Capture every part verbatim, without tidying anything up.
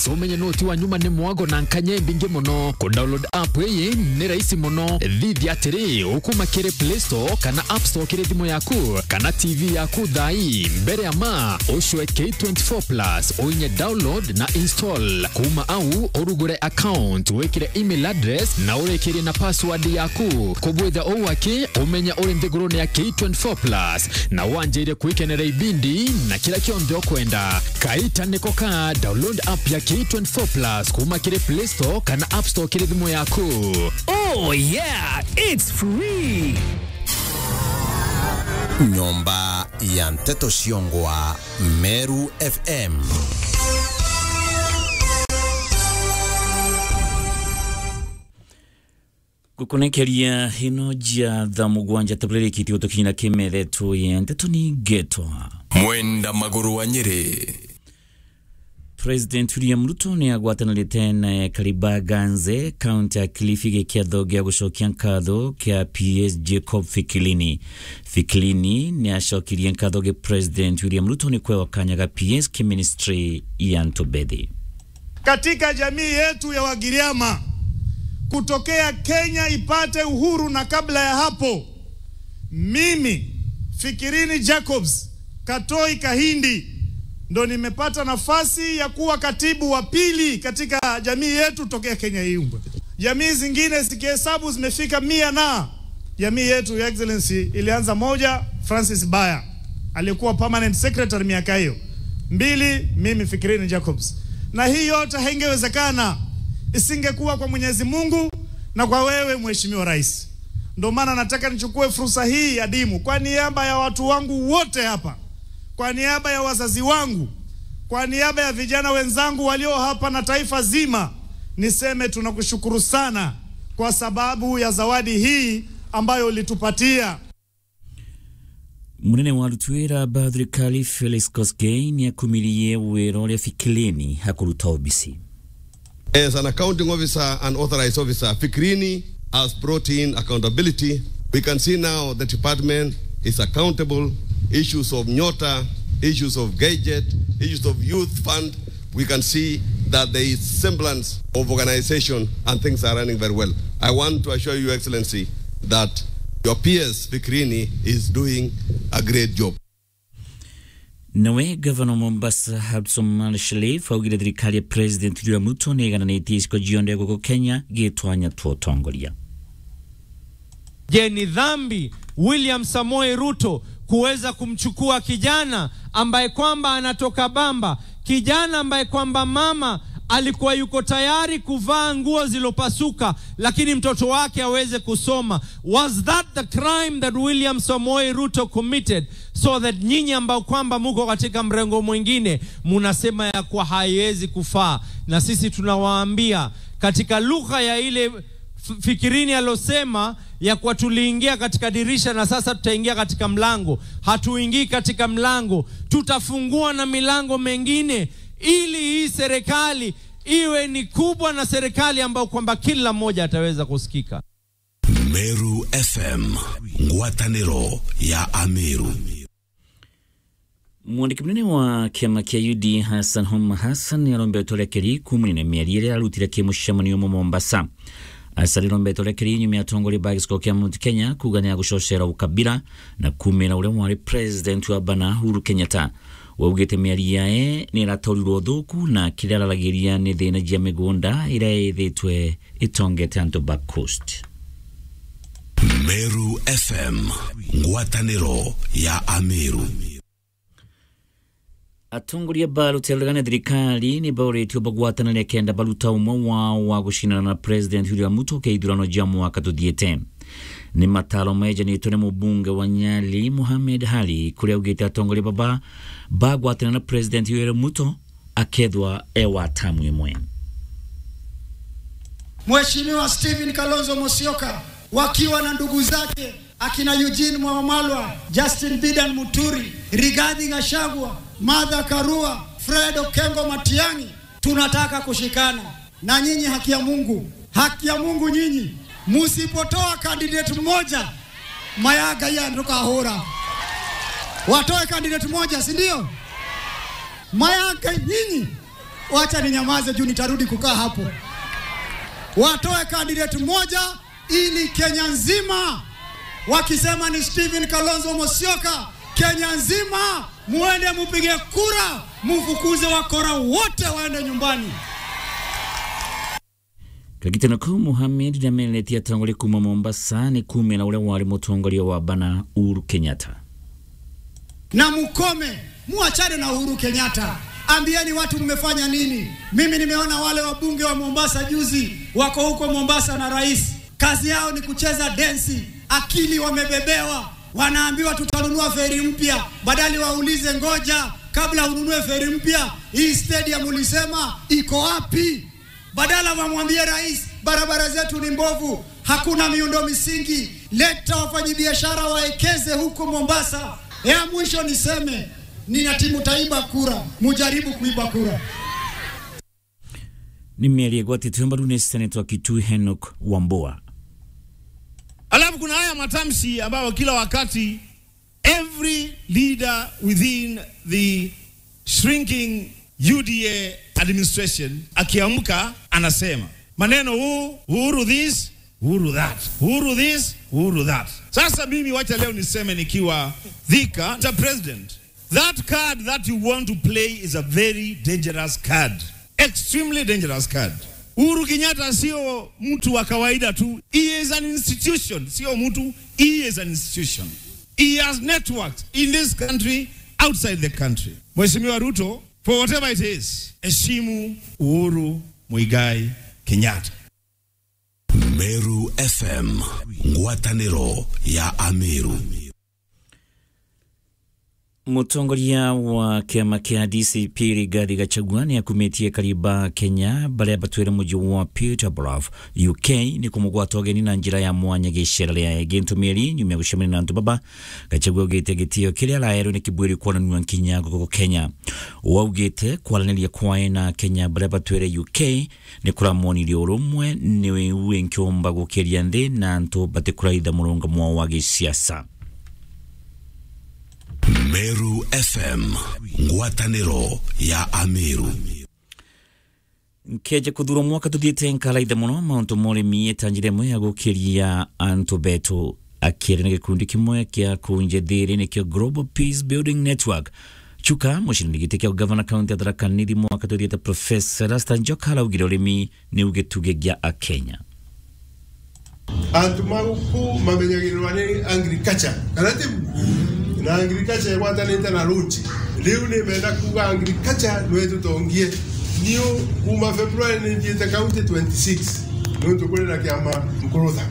Umenye noti wa nyuma ni mwago na nkanya imbingi mono. Ku download app iyi ni rahisi mono. Thithia atiri, ukuma kiri Play Store kana App Store kiri thimu yaku kana T V yaku thaa ii. Mbere ya ma, ucwe K twenty-four plus, uinye download na install. Kuma au, urugure account, wikire email address na urikirie na password yaku. Kubwitha uu aki, umenya uri nthigurune ya K twenty-four plus na wanjire kwikenera ibindi na kira kionthe ukwenda. Kaita niko ka, download app ya K twenty-four plus kuma kiri Play Store kana App Store kiri thimu yaku. Oh yeah, it's free. Nyomba ya nteto ciongwa, Meru F M. Gukunekeria ino jia thaa mugwanja tabulirikiti gutukinyira kimeretwo ya nteto ni ngetwa Mwenda Maguru wa Nyeri. President William Ruto ni agwatanirite na Kariba Ganze, kaunti ya Kilifi, gikiatho gia gucokia nkatho kia P S Jacob Fikilini. Fikilini ni acokirie nkatho gi President William Ruto ni kwewa kanya ga P S ki ministry ya ntubethi. Katika jamii yetu ya Wagiriama, kutokea Kenya ipate uhuru na kabla ya hapo, mimi, Fikirini Jacobs Katoi Kahindi, ndo nimepata nafasi ya kuwa katibu wa pili katika jamii yetu tokea Kenya iumbwe. Jamii zingine zikihesabu zimefika mia na jamii yetu, Your Excellency, ilianza moja, Francis Baya, aliyekuwa permanent secretary miaka hiyo. Mbili, mimi Fikirini Jacobs. Na hii yote haingewezekana isingekuwa kwa Mwenyezi Mungu na kwa wewe, Mheshimiwa Rais. Ndio maana nataka nichukue fursa hii adimu kwa niaba ya watu wangu wote hapa, kwa niaba ya wazazi wangu, kwa niaba ya vijana wenzangu walio hapa na taifa zima, niseme tunakushukuru sana kwa sababu ya zawadi hii ambayo ulitupatia. Munene wa aruti wira ba thirikari Felix Koskei ni akumirie wira uria Fikilini akuruta obisi. As an accounting officer and authorized officer, Fikrini has brought in accountability. We can see now the department is accountable. Issues of Nyota, issues of gadget, issues of youth fund, we can see that there is semblance of organization and things are running very well. I want to assure you, Excellency, that your P S Fikrini is doing a great job. Nawe gavana wa Mombasa, Abdulswamad Sharif, augire thirikari ya President William Ruto ni igananitie icigo cionthe guku Kenya gitwanya twa utongoria. Je, ni dhambi William Samoei Ruto kuweza kumchukua kijana ambaye kwamba anatoka Bamba, kijana ambaye kwamba mama alikuwa yuko tayari kuvaa nguo zilopasuka, lakini mtoto wake aweze kusoma? Was that the crime that William Samoei Ruto committed, so that nyinyi ambao kwamba muko katika mrengo mwingine munasema ya kuwa haiwezi kufaa? Na sisi tunawaambia katika lugha ya ile F-, Fikirini alosema ya kuwa tuliingia katika dirisha na sasa tutaingia katika mlango. Hatuingii katika mlango, tutafungua na milango mengine ili hii serikali iwe ni kubwa na serikali ambayo kwamba kila mmoja ataweza kusikika. Meru F M, ngwataniro ya Ameru. Mwandiki munene wa kiama kia U D A Hassan Homa Hassan ni arombetwe urekeri kuumania na miario iria arutire ki mucemanio umwe Mombasa. Hassan arombetwe urekeri nyuma ya atongoria ba gicigo kia Mount Kenya kuuga ni agucocera ukabira na kuumira uria wari president wa bana Uhuru Kenyatta. We augite miario yae ni iratorirwe uthuku na kiria araragiria ni thina jia migunda iria ithitwe itongete antu ba Coast. Meru F M, ngwataniro ya Ameru. Atongoria ba rutere rugane thirikari ni bauritwe bagwatanire kenda baruta umwe wao wa gucindana na President William Ruto ke ithurano jia mwaka tuthiite. Ni mataro mejanitwe ni mubunge wa Nyali, Mohamed Ali, kuria augite atongoria baba bagwatanire na President William Ruto akethwa e wa tamu imwe. Mheshimiwa Stephen Kalonzo Musyoka wakiwa na ndugu zake akina Eugene Wamalwa, Justin Bidan Muturi, Rigathi Gachagua, Martha Karua, Fred Okengo Matiang'i, tunataka kushikana na nyinyi. Haki ya Mungu, haki ya Mungu nyinyi, musipotoa candidate mmoja, Mayanga ya ndukahura. Watoe candidate moja, si ndio? Mayanga nyinyi, Wacha ninyamaze juu nitarudi kukaa hapo. Watoe candidate moja ili Kenya nzima, wakisema ni Stephen Kalonzo Musyoka, Kenya nzima muende mupige kura, mufukuze wakora wote waende nyumbani. Kagitano kau, Mohamed namenetie atongoria kuuma Mombasa ni kuumia na uria wari mutongoria wa bana, Uhuru Kenyatta. Na mukome, muachane na Uhuru Kenyatta. Ambieni watu mmefanya nini? Mimi nimeona wale wabunge wa Mombasa juzi, wako huko Mombasa na rais. Kazi yao ni kucheza densi, akili wamebebewa. Wanaambiwa tutanunua feri mpya, badala waulize, ngoja, kabla ununue feri mpya, hii stadium ulisema iko wapi? Badala wamwambie rais, barabara zetu ni mbovu, hakuna miundo misingi, leta wafanyabiashara waekeze huko Mombasa. Ya mwisho niseme, nina timu taiba kura, mujaribu kuiba kura. Ni mieri igwatitwe mbaru ni Senator Kitui Henok Wambua. Alafu kuna haya matamshi ambayo kila wakati every leader within the shrinking U D A administration akiamka anasema maneno huu, Uhuru this, Uhuru that, Uhuru this, Uhuru that. Sasa mimi wacha leo niseme nikiwa Thika, Mister President, that card that you want to play is a very dangerous card. Extremely dangerous card. Uhuru Kenyatta sio mtu wa kawaida tu. He is an institution. Sio mtu, he is an institution. He has networks in this country, outside the country. Mheshimiwa Ruto, for whatever it is, heshimu Uhuru Muigai Kenyatta. Meru F M, ngwatanĩro ya Ameru. Mutongoria wa kiama kia D C P Rigathi Gachagua ni akumitie akari ba Kenya baria batwire muji wa Peterborough, U K, ni kumugwata ugeni na njira ya mwanya gicera ria Gintu Mieri nyuma ya gucemania na antu baba. Gachagua augite gitio kiria araerwe ni kibwiri kwonanua nkinya guku Kenya. Uu augite kwaraniria kwae na Kenya baria batwire U K ni kuramwonirie urumwe, ni uu inkiumba gukiria nthi na antu batikuraitha murungamo wa gisiasa. Meru F M, ngwatanĩro ya Ameru. Nkeja kuthurwa mwaka tuthiite nkaraitha muno mauntu ma urimi, ta njira imwe ya gukiria antu betu. Akiaria na gikundi kimwe kia kunja thiri nikio Global Peace Building Network, Chuka, mucindani giti kia gavana kaunti ya Tharaka Nithi mwaka tuthiite Professor Erastus Njoka araugire urimi niu gitugi gia Akenya. Antu ma guku mamenyagirirwa ni agriculture, kana tiu? Na agriculture igwatanite na road. Riu ni menda kuuga agriculture nwe tutongie. Niu kuma February ni nthiite county twenty six, nontu kuri na kiama Nkurutha.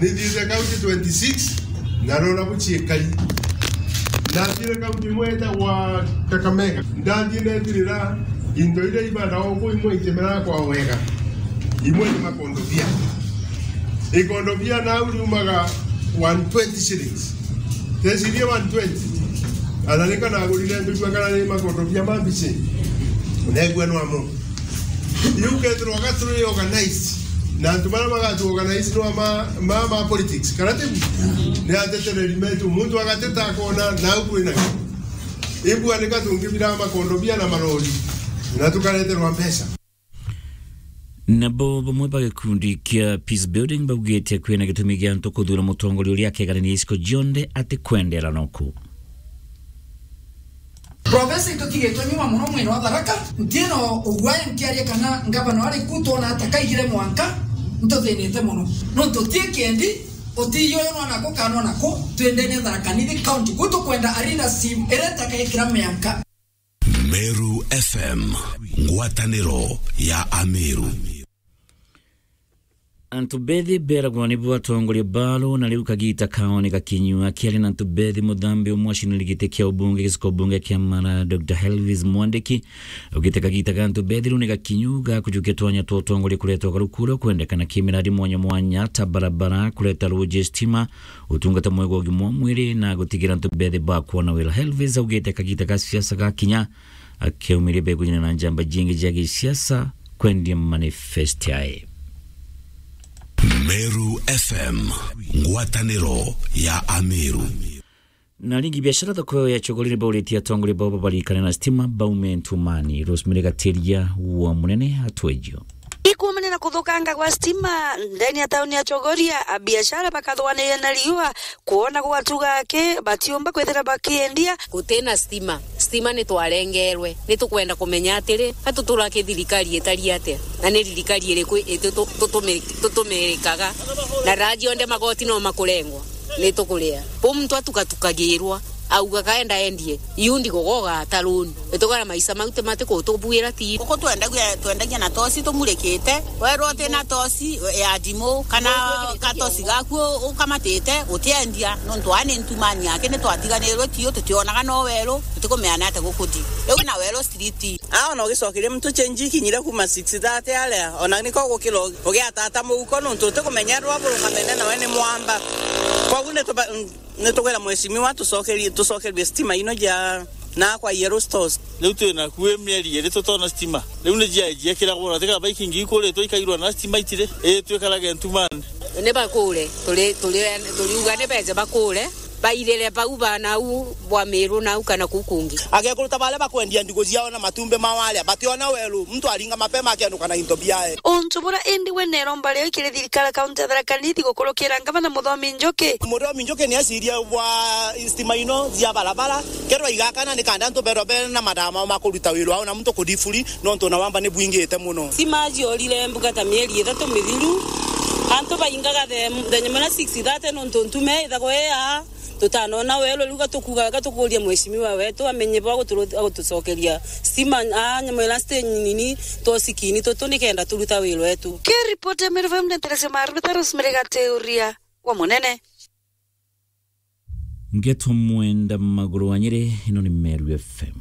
Ni nthiite county twenty six, na rona buciekai. Nathiire county imwe itagwa Kakamega. Ndathiire ndetirira into iria ibanda oku imwe itimera kwa wega. Imwe ni makondobia. Ikondobia nau riumaga one twenty shillings. Tecirie one twenty. Ana nika nagurire mbigua kana ni makondobia ma mbici. Negua no amo. Riu kethirwa ga turi organized, na antu baria bagatu organize no ma, ma, ma politics, kana tiu? Ni atetereri metu, muntu agateta akona nau kwina. Imbua nika tungibira makondobia na marori, na tukareterwa mbeca. Nabo bamwe ba gikundi kia Peace Building baugite kwina gitumi gia antu kuthura mutongoria uria akeganania iciko cionthe atikwendera noku. Profesa, itutigitwe nyuma muno mwena wa Tharaka. Ntiina uguaya nkiaria kana ngavana ari ku twona ata kaigire mwanka ntuthinite muno. Nontu ti kiendi, utiyo yo nona ku kana nona ku, twendene Tharaka Nithi County. Ku tukwenda a leadership iria itakekira mianka. Meru F M, ngwatanĩro ya Ameru. Antu bethi beragwa nibo atongoria baro, na riu kagita kao ni gakinyu. Akiaria na antu bethi, muthambi umwe acinire giti kia ubunge giciko bunge kia Mara, Doctor Elvis Mwandiki, augite kagita ga antu bethi riu ni gakinyu ga kujukia twanya twa utongoria kureta ugaruku uria ukwendekana kimiradi mwanya mwanya ta barabara, kureta ruji, stima, utungata mwega wa ugima wa mwiri na gutigira antu bethi bakwona wira. Elvis augite kagita ga siasa gakinya, akiaumiria begujana na njamba jingi jia gisiasa kwendia manifest yae. Meru F M, ngwatanĩro ya Ameru. Na ringi biashara thoko ya Chogori ni bauritie atongoria bao babarikane na stima baume ntumani. Rosemary Gatiria wa Munene atwejio. Ikuumania na kuthukanga gwa stima ndeni ya tauni ya Chogoria, abiashara bakathwanire na riua kwona gwatuga aki batiumba kwithira bakiendia. Gutina stima. Stima ni twarengerwe. Ni tukwenda kumenya atiri, ka tutura ki thirikari itari atia? Na ni thirikari iriku itu-, tu-, tutumi-, tutumirikaga? Na raji onde magoti no makurengwa. Ni tukuria. Bo muntu atukatukagirwa, auga kaenda endie. Iu ndigogoga ataruni. Itugara maisha mau ti matikutubuira ti. Guku twendagia, twendagia na toci tumurikite. Werwo uti na toci ya ndimu kana katoci gaku ukamatite, utiendia. Nontu aa ni ntumani yake, ni twatiganirwe tiu, tutionaga no weru, tutikumenya ni atia gukuthi. Riu na weru street. Aa, ona ugicokeria muntu change ikinyire kuma six thirty aria, ona niko gukira ugiatata muhuko, nontu utikumenyerwa burugamene nawe ni mwamba. Koguo ni tuba-, Nitugwira mheshimiwa tucokerie, tucokerue stima ino ja na kwa Yellow Stores. Riu twi naku i mieri iri tutona stima. Riu ni jia, jiekiragwo na tiga baikingi ikuritwe ikairwa na stima itiri. Ii, twikarage ntumani. Ni bakure, turi, turi, turiuga ni beje bakure, bairire bau ba nau bwa Miru nau kana kuu kungi. Agekuru ta baria bakwendia ndigu ciao na matumbi mao aria, bationa weru, muntu aringa mapema akianuka na into biae. Untu bura indi we neromba rio ikiri thirikari kaunti ya Tharaka Nithi gukurukira ngavana Muthomi Njuki. Muthomi Njuki ni aciria bwa stima ino cia barabara, kerwa igakana ni kanda antu berwa bena mathama ma kuruta wira wao na muntu kudifuri, nontu na wamba ni bwingite muno. Stima ciorire mbuga ta mieri ithatu mithiru, antu baingaga the, the nyamwe na six thirty nontu ntume ithagwa ii aa. Tutanona weru, riu gatukuga, gatukuria mheshimiwa wetu amenye bwa guturu-, gutucokeria stima, aa, nyamwe na stage nini, tosikini tutu nikenda turuta wira wetu. Ki report ya Meru F M ndeteresia maruta Rosemary Gateuria wa Munene. Ngeto mwenda maguru wa Nyeri, ino ni Meru F M.